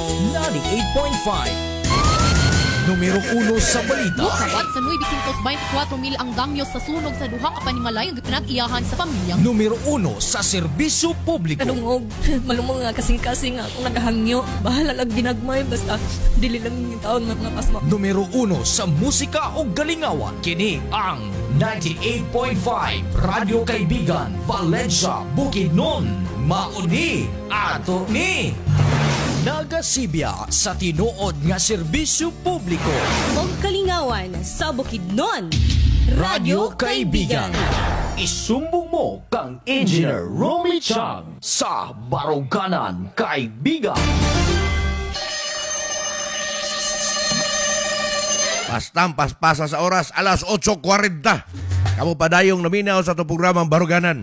98.5. Numero 1 sa balita. Mukawat sa 924 mil ang damyo sa sunog sa duha ka panimalay nga pinag-iyahan sa pamilya. Numero 1 sa serbisyo publiko. Kadungog, malumong nga kasing-kasing akong nagahangyo. Bahala lang ginagmay, basta dili lang yung taon nga mga pasma. Numero 1 sa musika o galingawan. Kini ang 98.5 Radyo Kaibigan, Valencia, Bukidnon. Mauni ato ni. Nagasibya sa tinuod nga serbisyo publiko. Og kalingawan sa Bukidnon. Radyo Kaibigan. Isumbong mo kang Engineer Romy Chang sa Baruganan Kaibigan. Pastam, paspasa sa oras, alas 8:40. Kamu padayong naminaw sa itong programang Baruganan.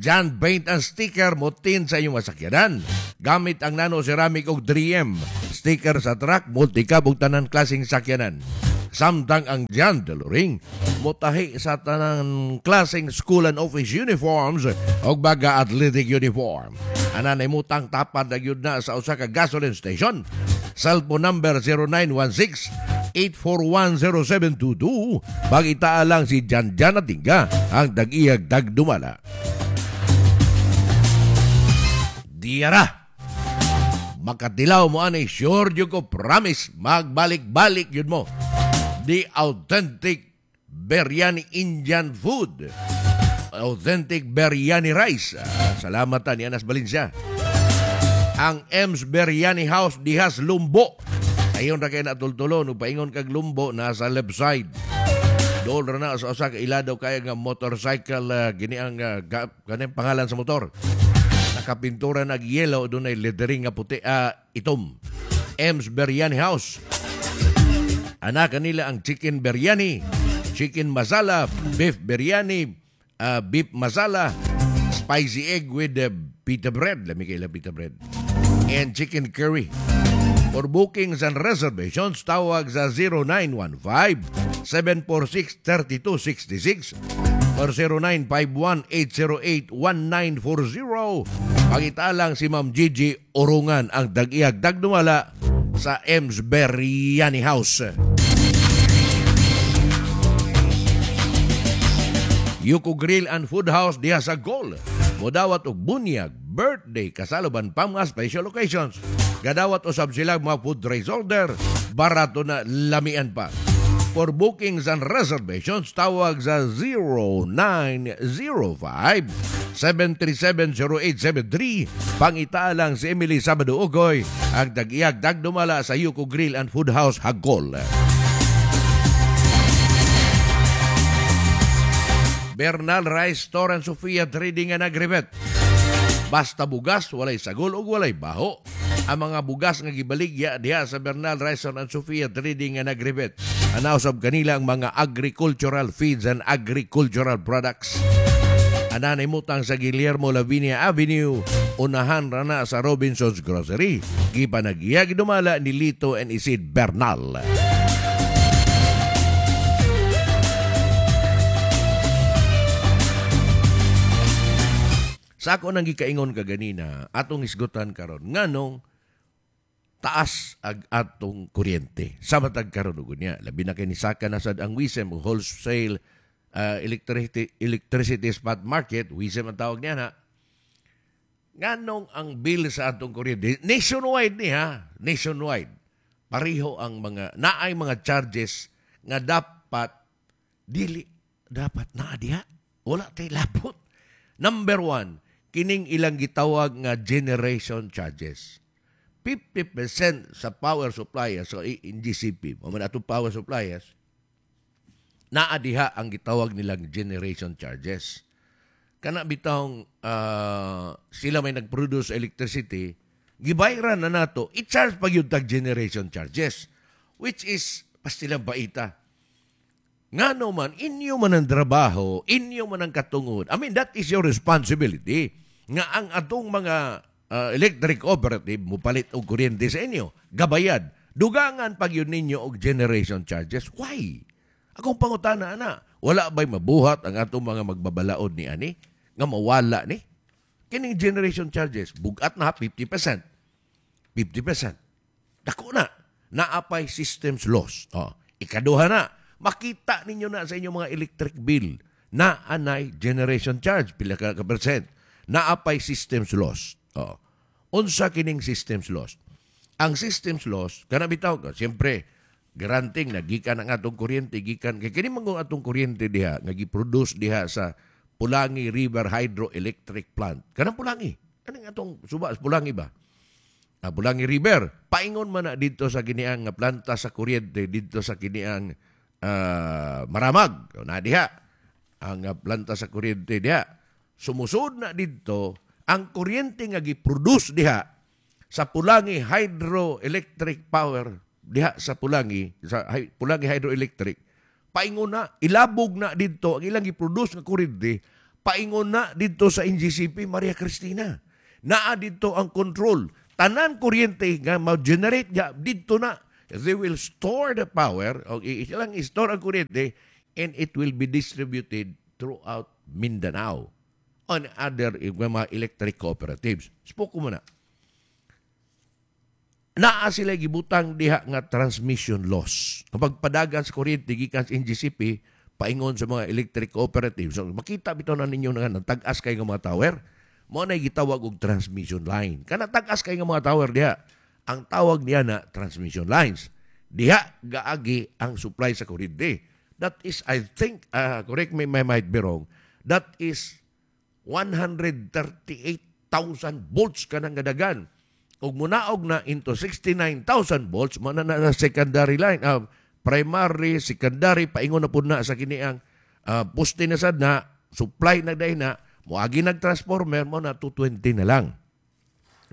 John Paint and Sticker mutin sa inyong masakyanan. Gamit ang nano ceramic og 3M. Sticker sa truck, multicab ug tanan klaseng sakyanan. Samtang ang John Deloring mutahi sa tanang klaseng school and office uniforms og baga athletic uniform. Ana nay mutang tapad na gyud na sa usa ka gasoline station. Cellphone number 0916 8410722. Bagitaa lang si Jan Jan Atingga ang dag-iyag dagdumala. Diara. Makatilaw mo ani, sure you ko promise magbalik-balik yun mo. The authentic biryani Indian food. Authentic biryani rice. Salamat ni Anas Valencia. Ang M's Biryani House dihas Lumbo. Ayon ra kay natultulon ug paingon kag Lumbo nasa left side. Dool ra na sa usa ka iladaw kay nga motorcycle, gini ang kaning pangalan sa motor. Nakapintura nag yellow, dunay lettering nga puti, itom. M's Biryani House. Anak kanila ang chicken biryani, chicken masala, beef biryani, beef masala, spicy egg with pita bread. Lami kay pita bread. And chicken curry. For bookings and reservations, tawag sa 0915-746-3266 or 0951-808-1940. Pangita lang si Ma'am Gigi Orungan ang dag-iyag dagdumala sa M's Biryani House. Yuko Grill and Food House diha sa Gol. Modawat og bunyag, birthday, kasaluban pa mga special occasions. Gadawat usab sila mga food trays order, barato na lamian pa. For bookings and reservations, tawag sa 0905-737-0873. Pangita lang si Emily Sabado Ugoy, ang dag-iyag dagdumala sa Yuko Grill and Food House, Hagol. Bernal Rice Store and Sofia Trading and Agrivet. Basta bugas, walay sagol ug walay baho. Ang mga bugas nga gibaligya diha sa Bernal Rice Store and Sofia Trading and Agrivet. Anausab kanila ang mga agricultural feeds and agricultural products. Ananay mutang sa Guillermo Lavinia Avenue, unahan rana sa Robinson's Grocery. Gipanagiyag dumala ni Lito and Isid Bernal. Sa ako nang gikaingon kaganina, atong isgutan karon nganong taas ag atong kuryente. Sa matag karon ug unya, labi na kay nisaka na sad ang WISM, wholesale electricity spot market, WISM ang tawag niya na. Nganong ang bill sa atong kuryente nationwide ni ha, nationwide. Pareho ang mga naay mga charges nga dapat dili dapat naa diha. Wala tay lapot. Number 1, kining ilang gitawag nga generation charges. 50% sa power suppliers, so in GCP, mo man atong power suppliers, naa diha ang gitawag nilang generation charges. Kana bitawng sila may nag-produce electricity, gibayaran na nato, i-charge pa gyud tag generation charges, which is pastilang baita. Ngano man, inyo man ang trabaho, inyo man ang katungod. I mean, that is your responsibility. Nga ang atong mga electric operative mupalit og kuryente sa inyo, gabayad. Dugangan pag yun ninyo og generation charges. Why? Akong pangutana, ana, wala ba'y mabuhat ang atong mga magbabalaod ni ani? Nga mawala ni? Kining generation charges, bugat na 50%. 50%. Dako na. Naa pay systems loss. Oh. Ikaduha na, makita ninyo na sa inyong mga electric bill na anay generation charge, pila ka percent. Naa pay systems loss. Oh. Unsa kining systems loss? Ang systems loss, kana bitaw, siyempre, granting na gikan ang atong kuryente, gikan kay kini man atong kuryente diha nga gi-produce diha sa Pulangi River Hydroelectric Plant. Kanang Pulangi. Kaning atong suba Pulangi ba? Ah, Pulangi River. Paingon man na dito sa kiniang nga planta sa kuryente dito sa kiniang Maramag. Na diha ang planta sa kuryente diha. Sumusud na dito ang kuryente nga gi-produce diha sa Pulangi Hydroelectric Power diha sa Pulangi, sa Pulangi Hydroelectric, paingon na, ilabog na dito ang ilang gi-produce nga kuryente, paingon na dito sa NGCP Maria Cristina. Naa dito ang control. Tanan kuryente nga ma-generate diha dito na. They will store the power o ilang i-store ang kuryente and it will be distributed throughout Mindanao on other mga electric cooperatives. Spoke mo na. Naa sila gibutang diha nga transmission loss. Kapag padagan sa kuryente gikan sa NGCP paingon sa mga electric cooperatives. So, makita bitaw na ninyo nga tag-as kay nga mga tower. Mao na gitawag og transmission line. Kana tag-as kay nga mga tower diha. Ang tawag niya na transmission lines. Diha gaagi ang supply sa kuryente. That is, I think, correct me if I might be wrong, that is 138,000 volts kanang gadagan. Ug munaog na into 69,000 volts, mo na na secondary line, primary, secondary, paingon na pud na sa kini ang poste na sad na, supply na dahil na, moagi nag-transformer mo na 220 na lang.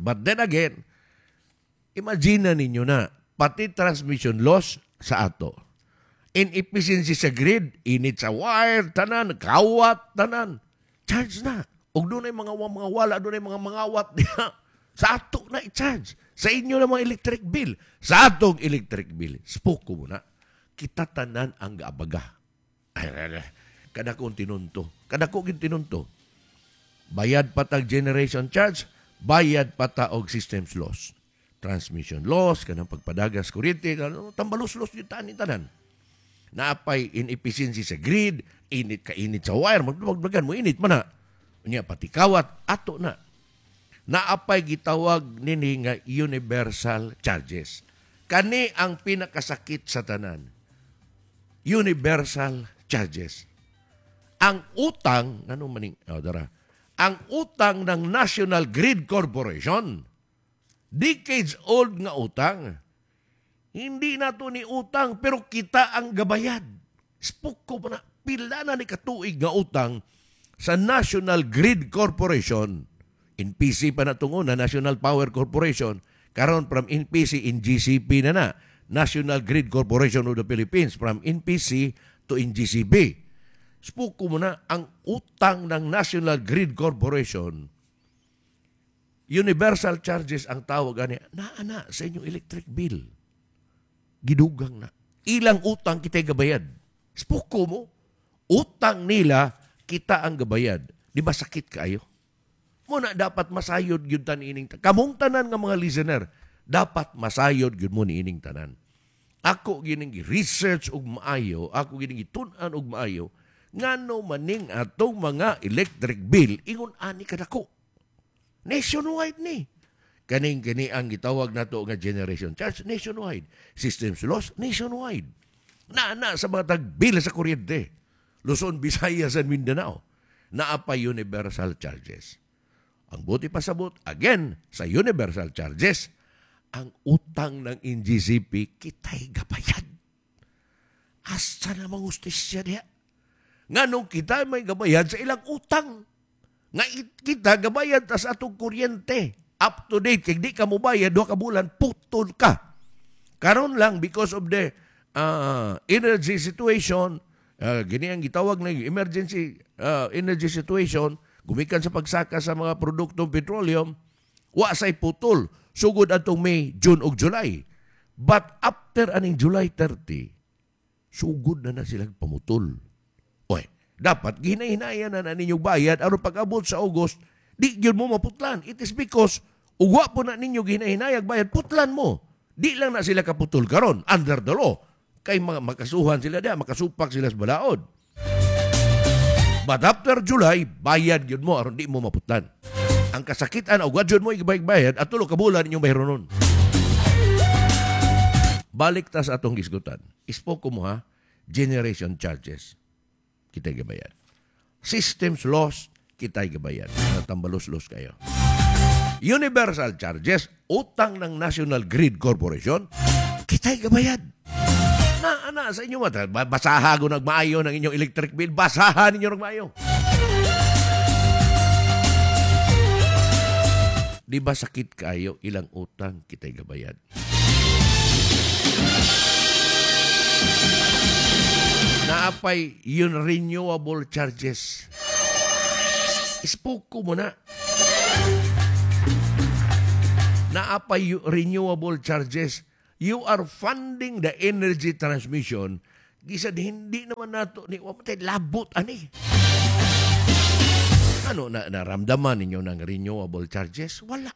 But then again, imagine na ninyo na, pati transmission loss sa ato. Inefficiency sa grid, init sa wire, tanan, kawat, tanan. Charge na. Ug dunay mga wala, dunay mga mangawat diha. Sa ato na i-charge. Sa inyo na mga electric bill. Sa atong electric bill. Spoke mo na. Kita tanan ang gaabaga. Ay, ay, ay. Kada kong tinunto. Kada ko tinunto. Bayad pa tag generation charge, bayad pa ta og systems loss. Transmission loss, kanang pagpadagas kuryente, tambalos-los yung tanin tanan. Naapay inefficiency sa grid, init ka init sa wire, magdagdagan mo init man na. Unya pati kawat ato na. Naapay gitawag nini nga universal charges. Kani ang pinakasakit sa tanan. Universal charges. Ang utang, ano maning, oh, dara. Ang utang ng National Grid Corporation, decades old nga utang. Hindi na to ni utang, pero kita ang gabayad. Spoke ko pa na, pila na ni katuig nga utang sa National Grid Corporation. NPC pa na itong una, National Power Corporation. Karon from NPC NGCP na na. National Grid Corporation of the Philippines from NPC to NGCP. Spoke ko muna, ang utang ng National Grid Corporation, universal charges ang tawag ani, naa na sa inyong electric bill. Gidugang na. Ilang utang kita gabayad. Spoke mo, utang nila, kita ang gabayad. Di ba sakit kaayo? Muna dapat masayod gyud tan ining kamong tanan nga mga listener, dapat masayod gyud mo niining tanan. Ako gining research og maayo, ako gining gitun-an og maayo ngano maning atong mga electric bill ingon ani kadako. Nationwide ni. Kaning kini ang gitawag nato nga generation charge nationwide, systems loss nationwide. Na na sa mga tag-bill sa kuryente. Luzon, Visayas, and Mindanao. Naa pa universal charges. Ang buti pasabot, again, sa universal charges, ang utang ng NGCP, kita'y gabayad. Asa na mga hustisya diha? Nganong kita may gabayad sa ilang utang? Nga kita gabayad ta sa atong kuryente. Up to date, kay di ka mobayad, 2 ka bulan, putol ka. Karon lang, because of the energy situation, gini ang gitawag na emergency energy situation, gumikan sa pagsaka sa mga produktong petroleum, wa say putol. Sugod atong May, June ug July. But after aning July 30, sugod na na silang pamutol. Oy, dapat ginahinaya na na ninyong bayad aron pag-abot sa August, di gyud mo maputlan. It is because Ug wa po na ninyo ginahinayag bayad, putlan mo. Di lang na sila kaputol karon under the law. Kay mga makasuhan sila diya, makasupak sila sa balaod. But after July, bayad yun mo aron di mo maputlan. Ang kasakitan og wa jud mo ibayad at tulo ka bulan inyong bayronon. Balik ta sa atong gisgutan. Ispo ko mo ha, generation charges. Kita'y gabayad. Systems loss, kita'y gabayad. Natambalos-los kayo. Universal charges, utang ng National Grid Corporation, kita'y gabayad. Na sa inyo mata. Basaha ko nagmaayo ng inyong electric bill. Basaha ninyo nagmaayo. Di ba sakit kayo ilang utang kita'y gabayad? Naapay yun renewable charges. Ispoke ko muna. Naapay renewable charges. You are funding the energy transmission. Gisad hindi naman nato ni wa man labot ani. Ano na naramdaman ninyo ng renewable charges? Wala.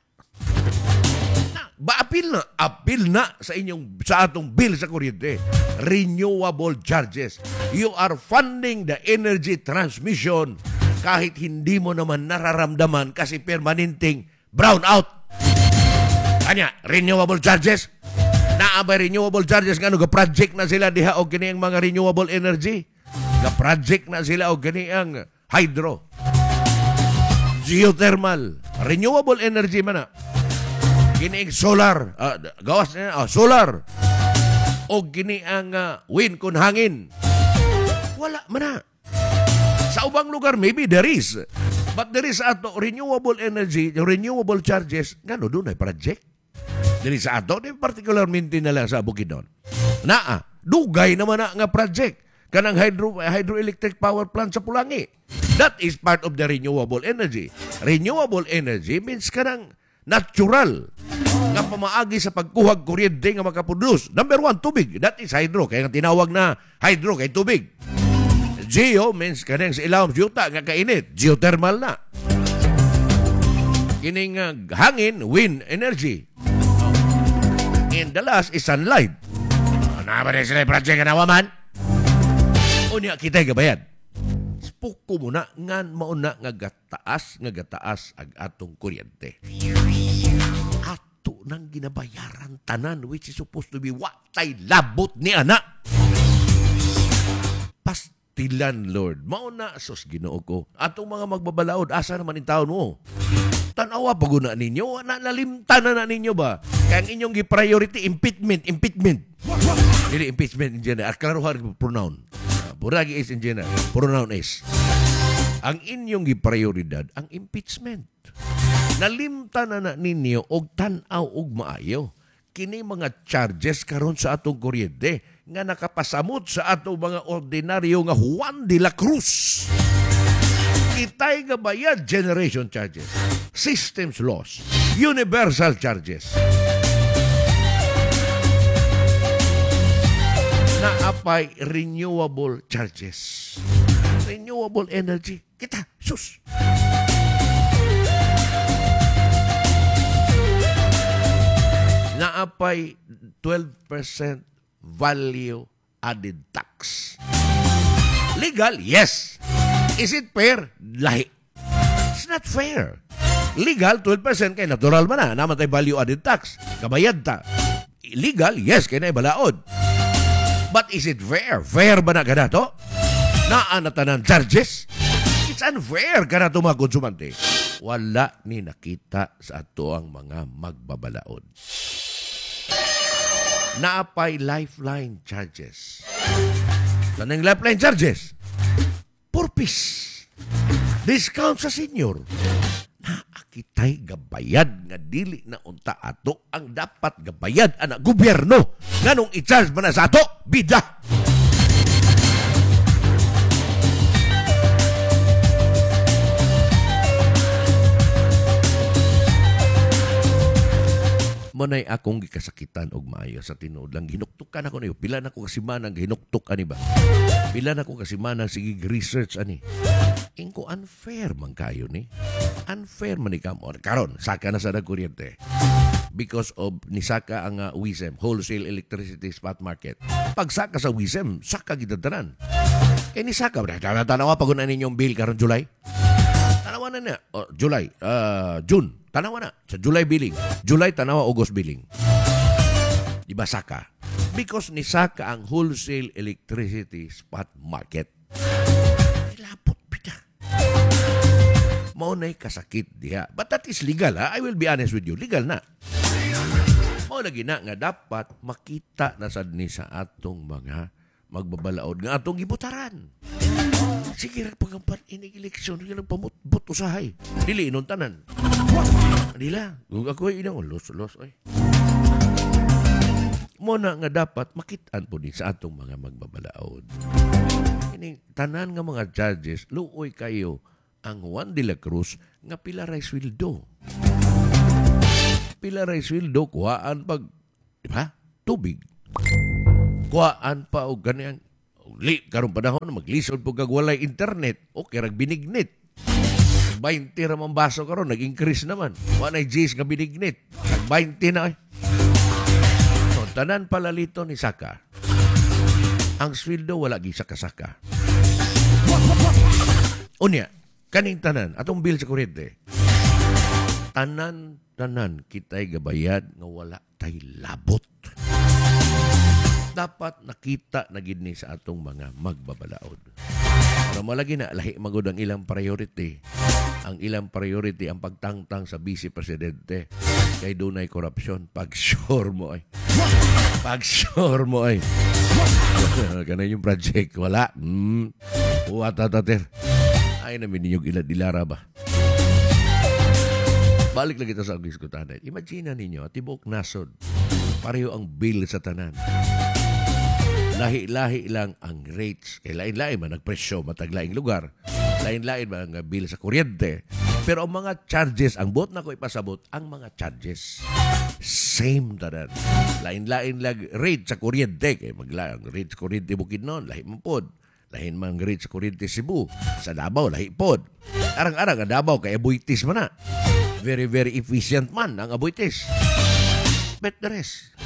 Na, ba apil na? Apil na sa inyong sa atong bill sa kuryente. Renewable charges. You are funding the energy transmission kahit hindi mo naman nararamdaman kasi permanenteng brown out. Kanya, renewable charges? Naa ba renewable charges nga ga-project na sila diha og kini ang mga renewable energy? Ga-project na sila og kini ang hydro, geothermal, renewable energy man na. Kini ang solar, gawas na solar. O kini ang wind kun hangin. Wala man na. Sa ubang lugar maybe there is. But there is ato renewable energy, renewable charges ngano dunay project. Diri sa ato, di particularmente na lang sa Bukidnon. Naa, dugay naman na nga project kanang hydroelectric power plant sa Pulangi. That is part of the renewable energy. Renewable energy means kanang natural nga pamaagi sa pagkuhag kuryente nga makaproduce. Number one, tubig. That is hydro. Kaya nga tinawag na hydro kay tubig. Geo means kanang sa ilawom yuta nga kainit. Geothermal na. Kining hangin, wind energy. And the last is sunlight. Ano ba rin sila yung project na nawaman? Unya, kita'y gabayad. Spuko mo na, ngan mauna nga gataas ang atong kuryente. Ato nang ginabayaran tanan, which is supposed to be watay labot ni anak. Pastilan, Lord. Mauna, sus, Ginoo ko. Atong mga magbabalaod, asa naman yung taon mo? Tanawa paguna ninyo, nalimtan na ninyo ba? Kaya ang inyong gi-priority, impeachment. Dili impeachment in general. Klaruhan pronoun. Buragi is in general. Pronoun is. Ang inyong gi-prioridad, ang impeachment. Nalimtan na ninyo og tan-aw og maayo. Kini mga charges karon sa atong kuryente nga nakapasamot sa atong mga ordinaryo nga Juan de la Cruz. Kitay nga bayad generation charges, systems loss, universal charges. Naapay renewable charges. Renewable energy. Kita, sus. Naapay 12% value added tax. Legal? Yes. Is it fair? Lahi. It's not fair. Legal, 12% kay natural man na. Naman tayo value added tax. Kabayad ta. Legal, yes, kay na ibalaod. But is it fair? Fair ba na kanato? Naa na tanan charges? It's unfair kanato mga konsumante. Wala ni nakita sa ato ang mga magbabalaod. Naapay lifeline charges. Tanang lifeline charges? Purpose. Discount sa senior. Naakitay gabayad nga dili na unta ato ang dapat gabayad ana gobyerno. Nganong i-charge man na sa ato? Bida! Mo na'y akong gikasakitan og maayo sa tinuod lang. Hinuktukan ako niyo. Pila na ko kasimana hinuktok ani ba? Pila na ko kasimana sige research ani. Ingko unfair man kayo ni. Unfair man ni kamo. Karon saka na sa kuryente. Because of nisaka ang WISM, Wholesale Electricity Spot Market. Pagsaka sa WISM, saka gitatanan. Kay nisaka, tanawa pag una ninyong bill karon July. Tanawa na na. Oh, July, June. Tanawa na. Sa July billing. July, tanawa, August billing. Di ba saka? Because nisaka ang wholesale electricity spot market. Lapot pita. Mao na'y kasakit diha. But that is legal, ha? I will be honest with you. Legal na. Mao lagi na nga dapat makita na sad ni sa atong mga magbabalaod nga atong gibutaran. Sige, pagkampan inig eleksyon, sige nagpamutbot usahay. Dili inon tanan. Dila, kung ako ay inang, los, ay. Muna nga dapat makitaan po din sa atong mga magbabalaod. Ining tanan nga mga judges, luoy kayo ang Juan de la Cruz nga pila ray sweldo. Pila ray sweldo, kuhaan pag, di ba? Tubig. Kuhaan pa og ganyan. Li, karong panahon, maglisod po kag walay internet. Okay, rag binignit. 20 ra man baso karon, nag-increase naman. Walay G's nga binignit. Nag 20 na ay. So, tanan palalito ni Saka. Ang sweldo wala gi saka-saka. Unya, kaning tanan, atong bill sa kuryente. Tanan kita'y gabayad nga wala tay labot. Dapat nakita na gid ni sa atong mga magbabalaod. Pero malagi na, lahi magod ang ilang priority. Ang ilang priority ang pagtangtang sa vice presidente. Kay dunay korupsyon. Pag-sure mo ay. Pag-sure mo ay. Ganun yung project. Wala. Uwatatater. Ay namin ninyong ilad-ilara ba? Balik lang kita sa diskutanan. Imagine ninyo, tibok nasod. Pareho ang bill sa tanan. Lahi-lahi lang ang rates. Kay lain-lain man nagpresyo mataglaing lugar. Lain-lain man ang bill sa kuryente. Pero ang mga charges, ang buot na ko ipasabot, ang mga charges, same tanan. Lain-lain lang rate sa kuryente. Kay magla ang rate sa kuryente Bukidnon, lahi man pod. Lahin man ang rate sa kuryente Cebu. Sa Davao, lahi pod. Arang-arang ang Davao, kay Aboitiz man na. Very, very efficient man ang Aboitiz. But the rest,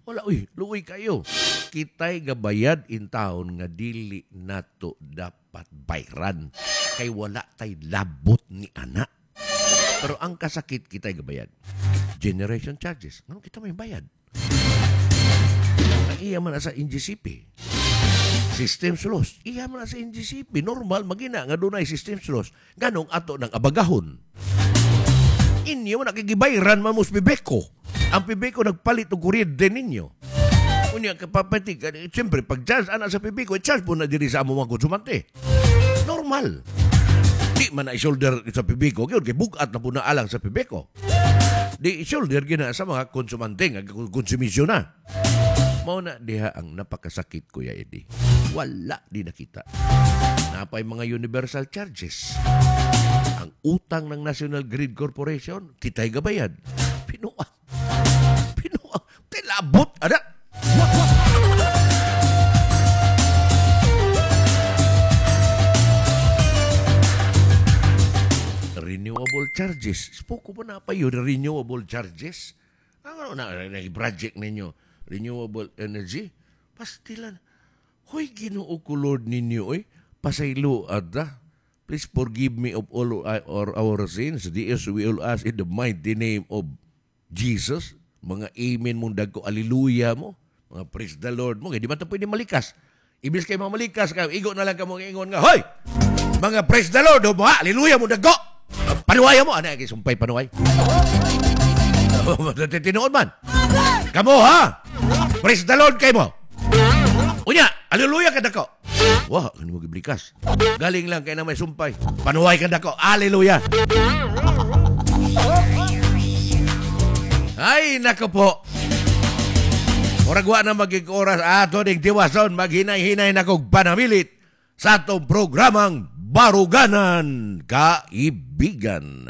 wala, uy, luoy kayo. Kita'y gabayad in town nga dili nato dapat bayran. Kay wala tay labot ni ana. Pero ang kasakit, kita'y gabayad. Generation charges. Ano kita may bayad? Ang iya man sa NGCP. Systems loss. Iya man sa NGCP. Normal, magina nga dunay systems loss. Ganong ato ng abagahon. Inyo, nakigibayran man mo sa Pibeko. Ang Pibeko nagpalit og kuryente ninyo. Unya, kapapatig, siyempre, pag charge ana sa Pibeko, charge po na diri sa among mga konsumante. Normal. Di man na i-shoulder sa Pibeko, yun, kay bugat na po na alang sa Pibeko. Di i-shoulder gina sa mga konsumante, nga konsumisyon na. Mao na diha ang napakasakit, Kuya Eddie. Wala di nakita. Napay mga universal charges. Ang utang ng National Grid Corporation, kita'y gabayad. Pinuang. Pinuang. Tilabot, anak. Renewable charges. Spoko pa na pa yun, renewable charges. Ano na, nag-project ninyo? Renewable energy? Pastilan. Hoy, Ginoo ko Lord ninyo, oy. Pasaylo, ada. Please forgive me of all our sins. This we all ask in the mighty name of Jesus. Mga amen mong dagko, alleluia mo. Mga praise the Lord mo. Kaya di ba ito pwede malikas? Ibis kayo mga malikas, kayo, igo na lang ka mong ingon nga, hoy! Mga praise the Lord, mga alleluia mo dagko! Panuwaya mo! Ano, sumpay panuway? Tinood man. Kamo, ha? Praise the Lord kayo mo. Unya, alleluia ka dako. Wah, ano mo giblikas? Galing lang kay na may sumpay. Panuway ka dako. Alleluia. Ay, nako po. Murag wa na magig oras ato ning tiwason, maghinay-hinay na kog panamilit sa atong programang Baruganan Kaibigan.